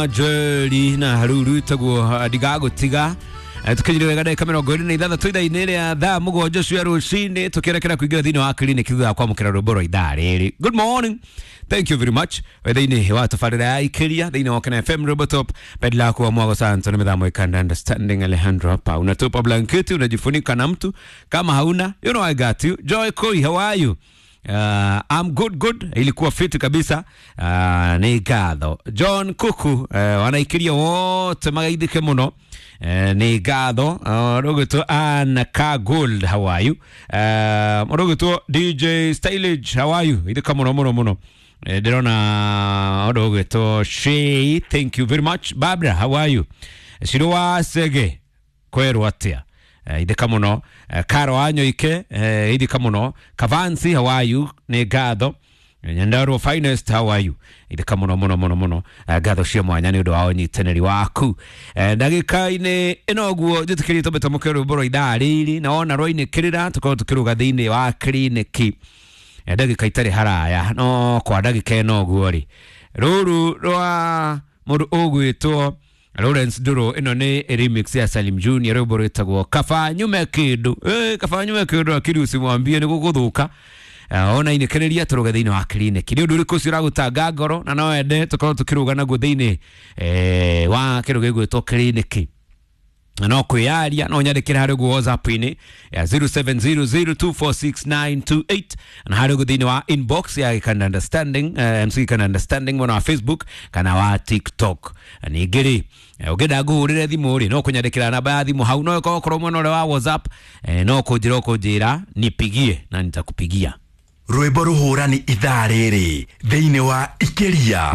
Njeri na haruru itaguo ndigagutiga. Tukinyire wega ndagika 26 ithaa-inĩ rĩa thaa 7 cia rũcinĩ, tũkĩerekera kũingĩra thĩinĩ wa kiriniki thutha wa kwamũkĩra rwĩmbo rwa ithaa rĩrĩ. Good morning, thank you very much. We thĩinĩ wa tabarĩra ya Ikĩria thĩinĩ wa Kena FM, Robo Top Bedlaku wa Mwago Santo na mĩthamo ikanda understanding Alejandro hapa. Unatupa blanketi unajifunika na mtu kama hauna, you know I got you. Joy Koi, how are you? I'm good, good. Ilikuwa fiti kabisa. Nĩ ngatho John Kuku, wanaikiria wote magaithike mũno. Nĩ ngatho. Rũgĩtwo Anna K Gold, how are you? Rũgĩtwo DJ Stylage, how are you? Ithika mũno mũno mũno. Ndĩrona ũndũ ũgĩtwo Shay, thank you very much. Barbara, how are you? Shiro wa Sege, kwerwo atĩa? Ithika muno. Karo Wanyoike, ithika muno. Kavansi, how are you? Nĩ ngatho. Nyandarua Finest, how are you? Ithika muno muno muno muno. Ngatho cia mwanya nĩ ũndũ wa ũnyitanĩri waku. Ndagĩka-inĩ ĩno ũguo njĩtĩkĩrie tũmbe twamũkĩre rwĩmbo rwa ithaa rĩrĩ, na wona rwainĩkĩrĩra tũkorwo tũkĩrũga thĩinĩ wa kiriniki. Ndagĩka itarĩ haraya, no kwa ndagĩka ĩno ũguo rĩ, rũrũ rwa mũndũ ũgwĩtwo Lawrence Nduru, ĩno nĩ remix ya Salim Junior, rwĩmbo rwĩtagwo Kaba Nyume Kĩndũ. Kaba Nyume Kĩndũ, akiri usimwambie nĩ gũgũthũka. Ona inĩkĩrĩria tũrũge thĩinĩ wa kiriniki. Nĩ ũndũ ũrĩkũ ũcio ũragũtanga ngoro na no wende tũkorwo tũkĩrũga naguo thĩinĩ wa kĩndũ gĩgwĩtwo kiriniki? Na no kwĩyaria no nyandĩkĩre harĩ ũguo WhatsApp-inĩ ya 0700246928, na harĩ ũguo thĩinĩ wa inbox ya Gikanda Understanding, MC Gikanda Understanding mwena wa Facebook kana wa TikTok. Ningĩ rĩ, ũngĩenda ngũhũrĩre thimũ rĩ, no kũnyandĩkĩra namba ya thimũ hau, no ĩkorwo mwena ũrĩa wa WhatsApp, no kũnjĩra ũkũnjĩra nipigie na nitakupigia. Rwĩmbo rũhũrani ithaa rĩrĩ thĩinĩ wa Ikĩria.